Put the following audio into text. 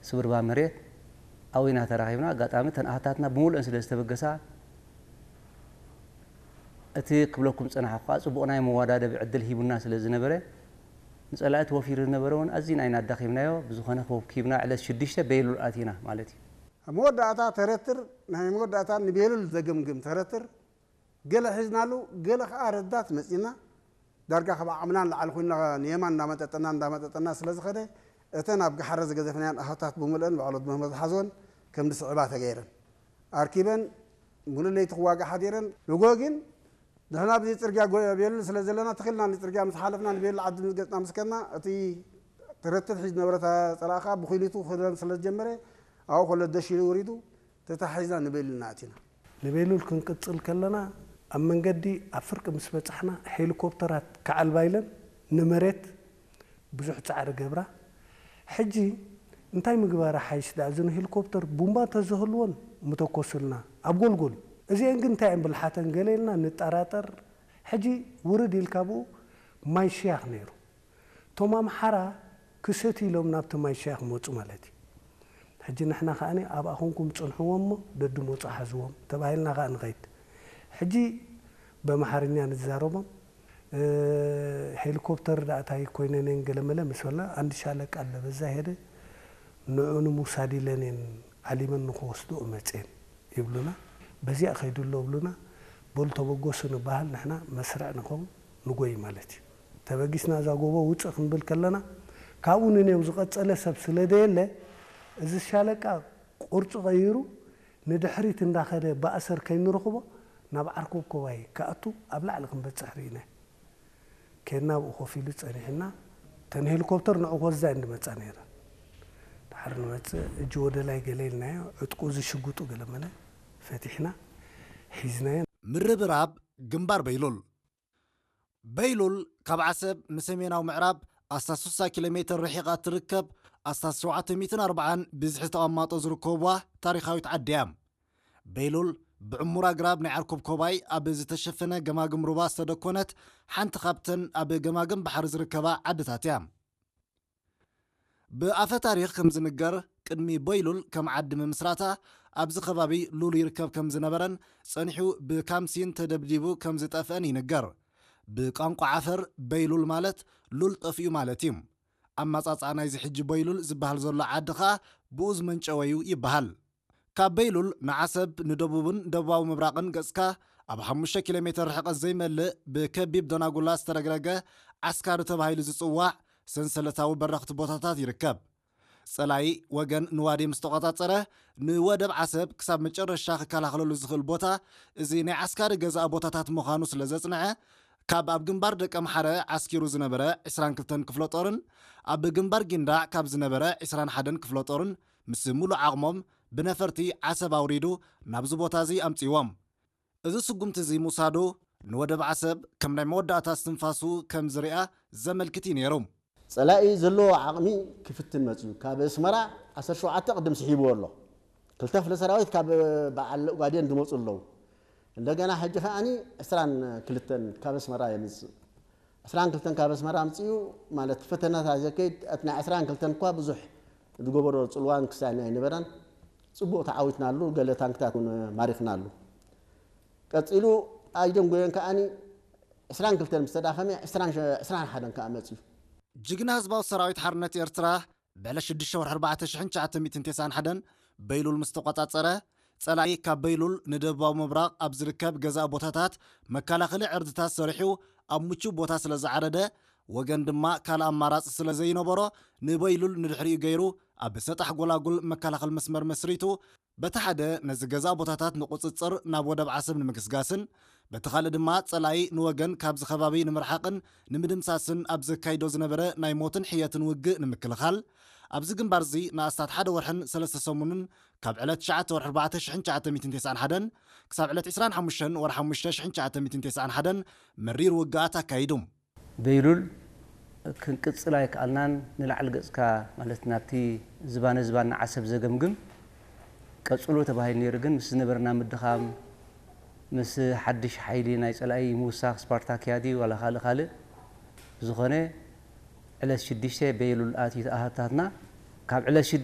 ስብርባ መሬት ኣብኡ ኢና ተራኺብና። ኣጋጣሚ እተን ኣሃታትና ብምሉእን ስለ ዝተበገሳ፣ እቲ ክብለኩም ዝጸናሕኩ ከኣ ጽቡቕ ናይ መወዳደቢ ዕድል ሂቡና ስለ ዝነበረ፣ ንጸላኢ ተወፊሩ ዝነበረ እውን ኣዚና ኢና ኣዳኺምናዮ። ብዝኾነ፣ ክወኪብና ዕለት ሽዱሽተ ቤሉል ኣቲና ማለት እዩ። ኣብ መወዳእታ ተረትር፣ ናይ መወዳእታ ንቤሉል ዘገምግም ተረትር፣ ገለ ሒዝናሉ፣ ገለ ከኣ ረዳት መጺና፣ ዳርጋ ካብ ዓቕምና ንላዕሊ ኮይንና፣ ንየማን እንዳመጠጠና እንዳመጠጠና ስለ ዝኸደ፣ እተን ኣብ ገሓረ ዝገዘፍናየን ኣሃታት ብምልአን ባዕሎት ምህመ ዝሓዝወን ከም ዝስዕባ ተገይረን ኣርኪበን፣ ሙሉእ ለይቲ ክዋጋ ሓዲረን። ንጎ ግን ንሕና ኣብዚ ጽርግያ ጎ-፣ ቤሉል ስለ ዘለና፣ ተኺልና ንጽርግያ ምስ ሓለፍና፣ ንቤሉል ዓዲ ምስ ገጽና ምስ ከድና፣ እቲ ተረትር ሒዝ ዝነበረ ጸላእኻ ብኹሊቱ ክረን ስለ ዝጀመረ፣ ኣብኡ ከሎ ደሽ ኢሉ ወሪዱ፣ ተታሒዝና ንቤሉል ኢና ኣቲና። ንቤሉል ክንቅጽል ከለና፣ ኣብ መንገዲ ኣብ ፍርቂ ምስ በጻሕና፣ ሄሊኮፕተራት ከዓልባ ኢለን ንመሬት ብዙሕ ጻዕሪ ገብራ። ሕጂ እንታይ ምግባር ሓይሽ ደኣ፣ እዘን ሄሊኮፕተር ቡምባ እንተዝህልወን ምተኮስልና ኣብ ጎልጎል። እዚአን ግን እንታይ እየን ብልሓተን ገለ ኢልና ንጠራጠር። ሕጂ ውርድ ኢልካ ብኡ ማይ ሽያኽ ነይሩ። እቶም ኣምሓራ ክሰትዩ ኢሎም ናብቲ ማይ ሽያኽ መጹ ማለት እዩ። ሕጂ ንሕና ከኣ ኣብኣ ኮንኩም ጽንሕዎም እሞ ደድመጹ ሓዝዎም ተባሂልና ከኣ ንኸይድ። ሕጂ በምሓርኛ ንዛረቦም፣ እ፣ ሄሊኮፕተር ደኣ እንታይ ኮይነን እየን ገለመለ ምስ በልና፣ አንድ ሻለቃ አለ በዛ ሄደ፣ ንዑ ንምውሳድ ኢለን እየን ዓሊመን ንኽወስድኦ መፅየን ይብሉና። በዚኣ ከይዱ ኣሎ ብሉና። በሉ ተበገሱ ንበሃል፣ ንሕና መስርዕ ንኸውን፣ ንጎይ ማለት እዩ። ተበጊስና እዛ ጎቦ ውፅእ ክንብል ከለና፣ ካብኡ ንኔው ዝቐፀለ ሰብ ስለ ደየለ፣ እዚ ሻለቃ ቅርፁ ቀይሩ ንድሕሪት እንዳኸደ ብኣሰር ከይንረኽቦ ናብ ዓርኮብ ኮባይ ክኣቱ ኣብ ላዕሊ ክንበፅሕ ርኢና። ኬድና ኣብኡ ኮፍ ኢሉ ጸኒሕና። እተን ሄሊኮፕተር ንዑ ክወስዳ እየን ዝመጻ ነይረን። ድሓር ንመጽእ እጂ ወደ ላይ ገለ ኢልናዮ፣ ዕጥቁ እዚ ሽጉጡ ገለ መለ ፈቲሕና ሒዝናዮ። ምርብራብ ግንባር በይሉል። በይሉል ካብ ዓሰብ ንሰሜናዊ ምዕራብ ኣስታት ስሳ ኪሎ ሜትር ርሒቓ እትርከብ ኣስታት ሸውዓተ ሚእትን ኣርባዓን ብዝሒ ዝተቐማጦ ዝርከብዋ ታሪኻዊት ዓዲ እያ። በይሉል ብዕሙር ኣግራብ ናይ ዓርኮብ ኮባይ ኣብ ዝተሸፈነ ገማግም ሩባ ዝተደኮነት ሓንቲ ካብተን ኣብ ገማግም ባሕሪ ዝርከባ ዓድታት እያ። ብኣፈ ታሪኽ ከም ዝንገር፣ ቅድሚ በይሉል ከም ዓዲ ምምስራታ ኣብዚ ከባቢ ሉል ይርከብ ከም ዝነበረን ጸኒሑ ብካምሲን ተደብዲቡ ከም ዝጠፍአን ይንገር። ብቋንቋ ዓፈር በይሉል ማለት ሉል ጠፊኡ ማለት እዩ። ኣመጻጽኣ ናይዚ ሕጂ በይሉል ዝበሃል ዘሎ ዓዲ ኸኣ ብኡ ዝመንጨወ እዩ ይበሃል። ካብ በይሉል ንዓሰብ ንደቡብን ደቡባዊ ምብራቕን ገጽካ ኣብ ሓሙሽተ ኪሎ ሜትር ርሕቀት ዘይመልእ ብከቢብ ደናጉላ ዝተረግረገ ዓስካሪ ተባሂሉ ዝጽዋዕ ሰንሰለታዊ በረኽቲ ቦታታት ይርከብ። ጸላኢ ወገን ንዋዲ ምስ ተቖጻጸረ፣ ንወደብ ዓሰብ ክሳብ መጨረሻ ክከላኸለሉ ዝኽእል ቦታ እዚ ናይ ዓስካሪ ገዛኢ ቦታታት ምዃኑ ስለ ዘጽንዐ፣ ካብ ኣብ ግንባር ደቀምሓረ ዓስኪሩ ዝነበረ ዕስራን ክልተን ክፍለ ጦርን ኣብ ግንባር ጊንዳዕ ካብ ዝነበረ ዕስራን ሓደን ክፍለ ጦርን ምስ ሙሉእ ዓቕሞም ብነፈርቲ ዓሰብ ኣውሪዱ ናብዚ ቦታ እዚ ኣምጺዎም። እዚ ስጉምቲ እዚ ምውሳዱ ንወደብ ዓሰብ ከም ናይ መወዳእታ እስትንፋሱ ከም ዝሪኣ ዘመልክት እዩ ነይሩ። ጸላኢ ዘለዎ ዓቕሚ ክፍትን መጽዩ። ካብ ኣስመራ ዓሰርተ ሸውዓተ ቅድም ስሒብዎ ኣሎ። ክልተ ክፍለ ሰራዊት ካብ በዓል ኦጋዴን ዝመጹ ኣለዉ። እንደገና ሕጂ ከኣኒ ዕስራን ክልተን ካብ ኣስመራ የምጽእ። ዕስራን ክልተን ካብ ኣስመራ ኣምጺኡ ማለት ፈተነታት ዘከይድ፣ እቲ ናይ ዕስራን ክልተን እኳ ብዙሕ ዝገበሮ ጽልዋን ክሳይን ኣይነበረን። ጽቡቕ ተዓዊትናሉ፣ ገለ ታንክታት እውን ማሪኽናሉ። ቀጺሉ ኣይደንጎየን ከኣኒ ዕስራን ክልተን ምስ ተዳኸመ ዕስራን፣ ዕስራን ሓደን ከኣ መጺኡ። ጅግና ህዝባዊ ሰራዊት ሓርነት ኤርትራ ብዕለት ሽዱሽተ ወርሒ ኣርባዕተ ሽሕን ትሽዓተ ሚእትን ተስዓን ሓደን በይሉል ምስ ተቖጻጸረ፣ ጸላኢ ካብ በይሉል ንደቡባዊ ምብራቕ ኣብ ዝርከብ ገዛኢ ቦታታት መከላኸሊ ዕርድታት ሰሪሑ ኣብ ምቹው ቦታ ስለ ዝዓረደ፣ ወገን ድማ ካልእ ኣማራጺ ስለ ዘይነበሮ ንበይሉል ንድሕሪኡ ገይሩ ኣብ ሰጣሕ ጎላጉል መከላኸሊ መስመር መስሪቱ፣ በቲ ሓደ ነዚ ገዛኢ ቦታታት ንቁጽጽር ናብ ወደብ ዓሰብ ንምግስጋስን፣ በቲ ካልእ ድማ ጸላኢ ንወገን ካብዚ ከባቢ ንምርሓቕን ንምድምሳስን ኣብ ዘካይዶ ዝነበረ ናይ ሞትን ሕየትን ውግእ ንምክልኻል፣ ኣብዚ ግንባር እዚ ንኣስታት ሓደ ወርሕን ሰለስተ ሰሙንን ካብ ዕለት ትሽዓተ ወርሒ ኣርባዕተ ሽሕን ትሽዓተ ሚእትን ተስዓን ሓደን ክሳብ ዕለት ዕስራን ሓሙሽተን ወርሒ ሓሙሽተ ሽሕን ትሽዓተ ሚእትን ተስዓን ሓደን መሪር ውግኣት ኣካይዱ። በይሉል ክንቅጽል ኣይከኣልናን። ንላዕሊ ገጽካ ማለት ናብቲ ዝባነ ዝባን ንዓሰብ ዘገምግም ቀጽሎ ተባሂሉ ነይሩ። ግን ምስ ዝነበረና ምድኻም፣ ምስ ሓድሽ ሓይሊ ናይ ጸላኢ ምውሳኽ ስፓርታክያ ድዩ ዋላ ካልእ ካልእ፣ ብዝኾነ ዕለት ሽዱሽተ በይሉል ኣትዩ ኣሃታትና። ካብ ዕለት ሽዱሽተ